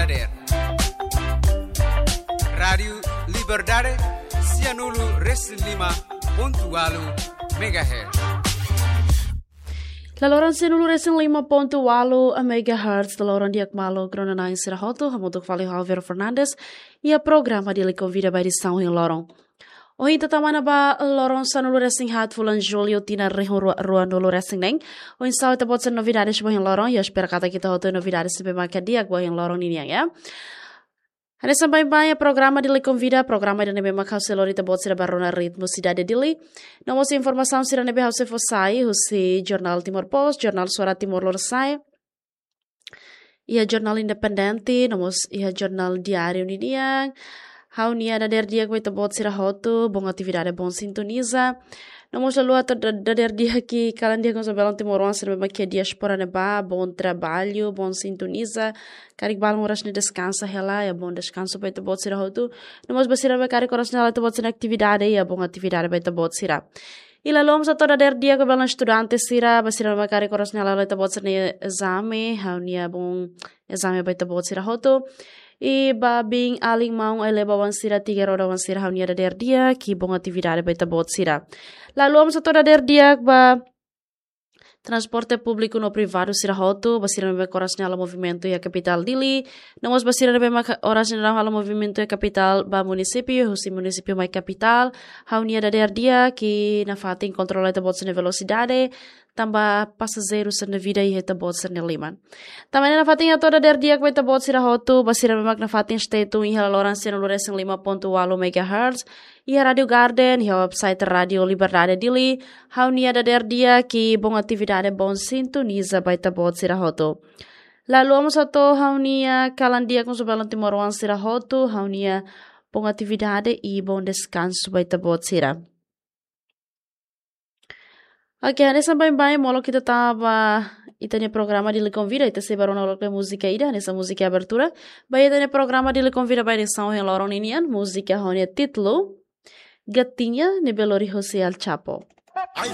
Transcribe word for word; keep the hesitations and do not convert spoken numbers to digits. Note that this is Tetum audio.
Dader. Rádiu Liberdade, sianulu resin lima pontu walu megahertz. Laloran sianulu resin lima pontu walu megahertz, laloran di'ak maluk rona-na'in sira hotu, hamutuk fali ho Alvaro Fernandes, iha programa Dili Konvida ba edisaun ohin loron. Ohin ita tama ona ba loron sanulu resin haat fulan Jullu tinan rihun rua, ruanulu resin neen. Oinsá ita-boot sira novidades ba ohin loron, ha'u espera katak ita hotu novidades ne'ebé maka di'ak ba ohin loron ninian, ya. Hanesan baibain iha programa Dili Konvida, programa ida ne'ebé maka ha'u sei lori ita-boot sira ba rona ritmu sidade Dili. No mós informasaun sira ne'ebé ha'u sei fó sai, husi Jornál Timor Post, Jornál Suara Timor Lorosa'e, iha Jornál Independente, no mós iha Jornál Diáriu ninian. Ha'u-nia dader di'ak ba ita-boot sira hotu, bom atividade, bom sintoniza. No mós lala'ok atu da-, dader di'ak kalan di'ak husi belun timoroan sira ne'ebé maka iha diáspora ne'ebá, bom trabalho, bom sintoniza. Karik balun oras ne'e deskansa hela, iha bom deskansu ba ita-boot sira hotu. No mós ba sira ne'ebé karik oras ne'e hala'o ita-boot sira-nia atividade, iha bom atividade ba ita-boot sira. I lala'ok mós atu dader di'ak ba belun estudante sira, ba sira ne'ebé karik oras ne'e hala'o ita-boot sira-nia ezame, ha'u-nia bom ezame ba ita-boot sira hotu. I ba biin-alin, maun-alin, ba oan sira, tiga roda oan sira, ha'u-nia dader di'ak, i bom atividade ba ita-boot sira. Lala'ok mós atu dader di'ak ba transporte públiku no privadu sira hotu, ba sira ne'ebé oras ne'e hala'o movimentu iha kapitál Dili, no mós ba sira ne'ebé maka oras ne'e hala'o movimentu iha kapitál ba munisípiu, husi munisípiu mai kapitál, ha'u-nia dader di'ak, i nafatin kontrola ita-boot sira-nia velosidade, tanba pasajeiru sira-nia vida iha ita-boot sira-nia liman. Tanba ne'e nafatin atu dader di'ak ba ita-boot sira hotu, ba sira ne'ebé maka nafatin stay tune iha laloran sianulu resin lima pontu walu megahertz, iha Rádiu Garden, iha website Rádiu Liberdade Dili, ha'u-nia dader di'ak, i bom atividade, bom sintoniza ba ita-boot sira hotu. Lala'ok mós atu ha'u-nia kalan di'ak mós ba belun timoroan sira hotu, ha'u-nia bom atividade i bom deskansu ba ita-boot sira. Oke, hanesan baibain molok ita tama ba ita-nia programa Dili Konvida, ita sei ba rona loke múzika ida, hanesan múzika abertura ba ita-nia programa Dili Konvida ba edisaun ohin loron ninian, múzika ho nia títulu Gatinha, ne'ebé lori husi El Chapo. Ai,